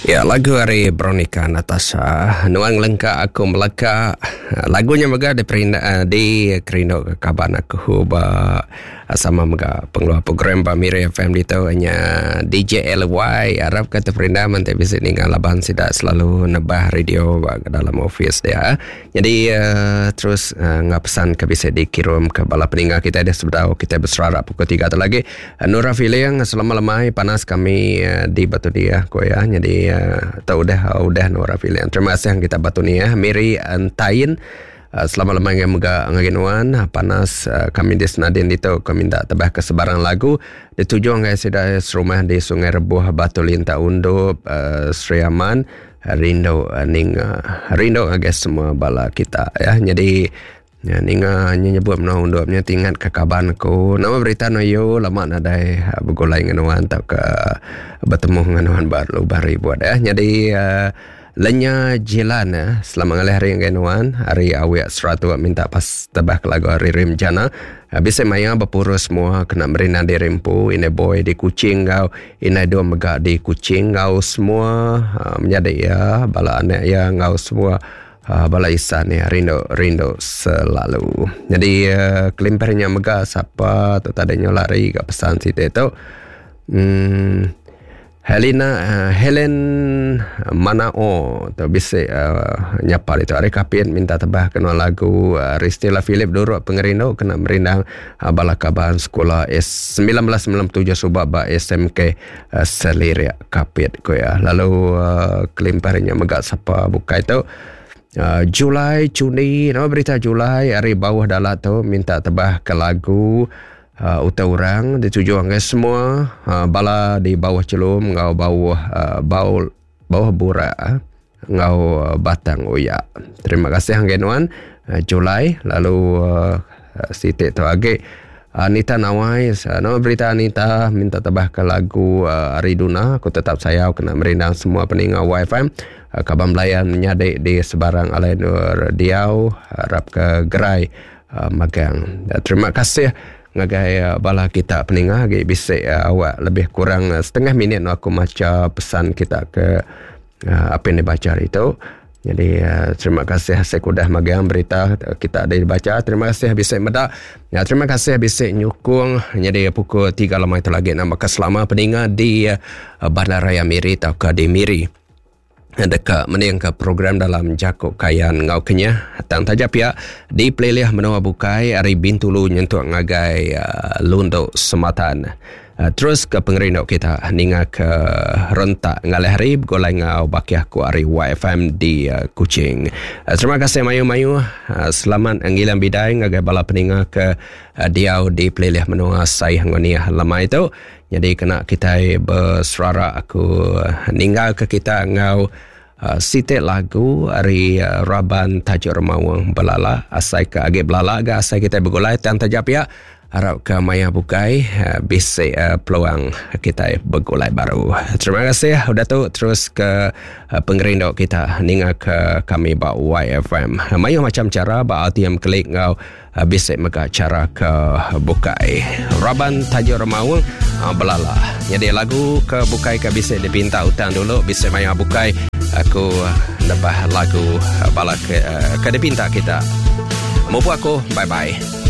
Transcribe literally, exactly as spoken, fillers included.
Ya, lagu ari Veronica Natasha, Nuan Lengka Aku Meleka. Lagunya mega diperinda di kerindu ke kaban aku ba sama mega pengeluar program ba Miri F M ditu nya D J L Y. Arap ke terperinda nanti bisa ninggal laban sida selalu nebah radio ba dalam office dia. Jadi uh, terus uh, ngapesan ke bisa dikirim ke bala peninggal kita dia sebedau kita berserara pukul tiga tu lagi. Uh, Nura Feeling selama lemai panas kami uh, di Batu Dia ko ya. Jadi uh, tahu udah udah Nura Feeling. Terima kasih yang kita Batu Nia Miri Entain. Uh, selamat lemai yang mega ngaginuan panas uh, kami di Senadin itu kami minta tebah ke sebarang lagu dituju ngai sida serumah di Sungai Rebuh Batu Linta Undup uh, Sri Aman rindu uh, ninga rindu ngagai semua bala kita ya. Jadi ya, ninga nyebut menua undupnya tingat ke kaban aku nama berita noyo lama nadai uh, bergulai dengan atau ke bertemu dengan baru baru buat ya. Jadi uh, Lenya Jilan eh. Selamat ngalih hari yang nuan hari awak seratu minta pas tebah ke lagu hari Rim Jana. Bisa maya berpurus semua kena merina di Rimpu ini boy di Kuching kau ini dua mega di Kuching kau semua uh, menjadi ya bala anak ya kau semua uh, bala isan ya rindu rindu selalu. Jadi uh, kelimpernya mega siapa tu tadi lari ke pesan situ tu. Hmm Helena uh, Helen Manao tu bisa uh, nyapa itu hari kapin minta tebah kena lagu uh, Ristila Philip Duruk Pengerindu kena merindang uh, bala kaban sekolah S sembilan belas sembilan puluh tujuh subak ba S M K uh, Seliria Kapit ko ya. Lalu uh, kelimparnya megak siapa buka itu uh, Julai Cuni nama berita Julai hari bawah dalat tu minta tebah ke lagu Uh, uta orang dituju anggai semua uh, bala di bawah celum ngau bawah uh, bau bawah burak uh, ngau uh, batang oya. Terima kasih anggai nuan uh, Julai. Lalu uh, sitik tu agi Anita Nawai uh, nama berita Anita minta tabah ke lagu uh, Ariduna aku tetap sayau kena merindang semua peninga Y F M uh, kaban belayan menyadik di sebarang alai nur diau harap ke gerai uh, magang. Uh, terima kasih ngagai bala kita peningah agi bisik uh, awak lebih kurang uh, setengah minit aku maca pesan kita ke uh, apa yang dibaca hari itu. Jadi uh, terima kasih saya kudah magang berita kita ada dibaca. Terima kasih bisik medak. Ya, terima kasih bisik nyukung. Jadi pukul tiga lemai itu lagi nama keselama peningah di uh, Bandaraya Miri atau ke di Miri. Dekat mending ke program dalam Jakuk Kayan Ngau Kenyah tang taja pihak di pelilih menua bukai hari Bintulu nyentuk ngagai uh, Lunduk Sematan. Uh, terus ke pengerindu kita ninga ke rentak ngalih hari bergulai ngau baki aku hari Y F M di uh, Kuching. Uh, terima kasih mayu-mayu. Uh, selamat ngilang bidai ngagai bala peninga ke uh, diau di pelilih menua Saih Ngoniah lama itu. Jadi kena kita berserara aku ninggal ke kita ngau Uh, sitik lagu hari uh, Raban Tajuk Remawang Belala asai ke agi belala ga asai kita bergulai tan tajap ya harap ke maya bukai uh, bisik uh, peluang kita bergulai baru. Terima kasih udah tu terus ke uh, pengerindu kita ninga ke kami ba Y F M. Mayu macam cara ba R T M klik ngau uh, bisik mega cara ke bukai. Raban Tajuk Remawang uh, Belala. Jadi lagu ke bukai ke bisik dipinta utang dulu bisik maya bukai aku nebah lagu bala ke, ke dipinta kita. Mupu aku, bye-bye.